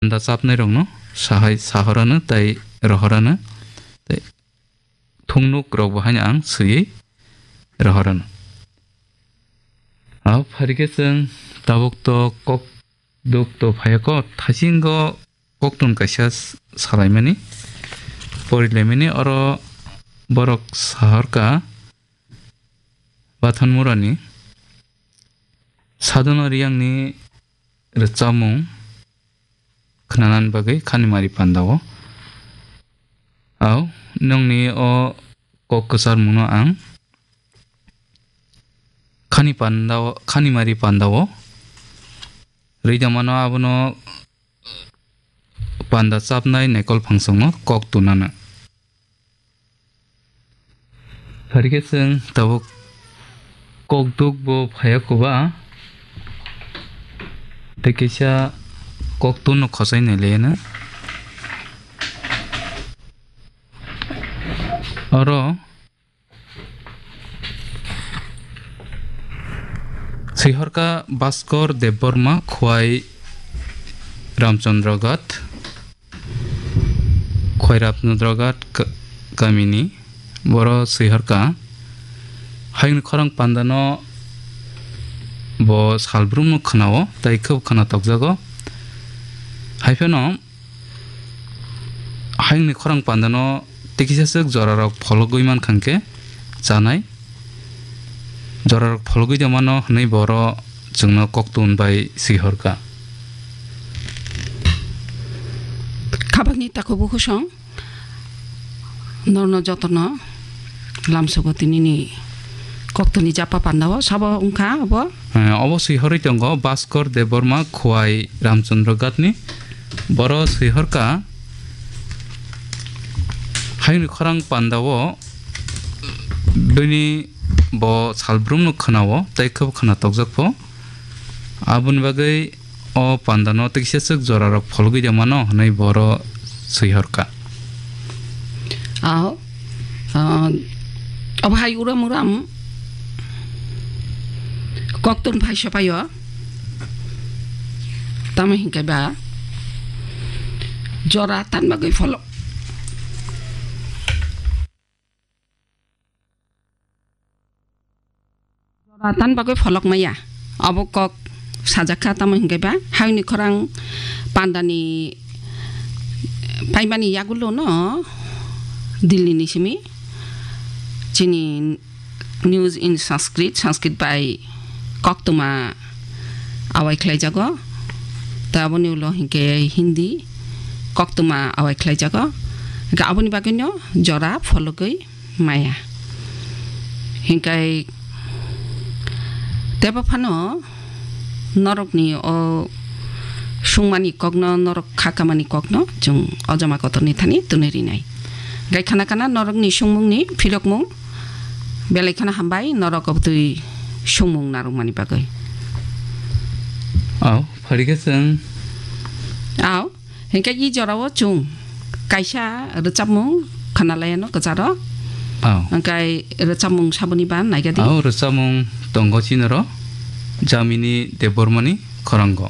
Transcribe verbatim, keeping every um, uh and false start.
panda chapnai rokno sahai sahorano tei rohorano tei thungnuk rok bo haino ang swiwi rohorano. Abo pharikhe chwng tabuk to kok duk to phaiya kok thaisingo koktun kaisa s-, salaimani porilaimani oro borok sahorka Bathanmurani Sadhana Riyangni rwchapmung khnanani bagwi Khanimari pandao. Au, nongni o kok kwcharmungno ang Khani pandao, Khanimari pandao rwidamano abono panda chapnai naikol phangsongno kok tunana. Pharikhe chwng tabuk kokduk bo phaiya koba tei kisa koktunno khosai nai laiya na. Oro Sihorka Bhaskor Debbarma, Khwai Ramchandra Ghat, Khwai Ramchandra Ghat ka-, kamini boro sihorka. Hayungni khorang pandano bo salbrumno khwnao, tei khub khwna tokjago. Haiphano Hayungni khorang pandano tikisa swk jorarok phologwi mankha hwnkhe chanai. Jorarok phologwi tongmano hwnwi boro chwngno koktun bai swihorkha. Khabangni takhuk bukhusong norno jotono lamsogo tinini koktuni japa pandao sabo wngkha obo. Eh, obo swi horwi tongo Bhaskor Debbarma, Khwai Ramchandra Ghatni. Boro swi horkha, hayungni khorang pandao bini bo salbrumno khwnao tei khebo khwna tokjakpho. Aboni bagwi o pandano tiksa swk jorarok phologwi tongmano hwnwi boro swi horkha. Ao, ah, obo hai uram uram koktun phai sopaio. Tamo hinkhe ba jora tan bagwi pholok. Jora tan bagwi pholok maya. Obo kok sajak kha, tamo hinkhe ba hayungni khorang pandani paimani yagulo no Delhi ni simi chini News in Sanskrit, Sanskrit bai koktwma awai khlaijago. Ta aboni ulo hinkhe Hindi koktwma awai khlaijago. Hinkhe aboni bagwino jora phologwi maya. Hinkai tebo phano norokni o sungmani kokno, norok kha kamani kokno chwng o joma kotorni thani twnwi rinai. Gai khana khana norokni sungmungni phirokmung belai kheno hambai norok obtwi sungmung narwkmani bagwi. Au, pharikhe chwng. Au. Hinkhe i jorao chwng kaisa rwchapmung khwnalaiano kwcharo. Oh. Hinkhe rwchapmung saboni ba naigadi. Oh, rwchapmung tongo chinaro Jamini Debbarmani khorango.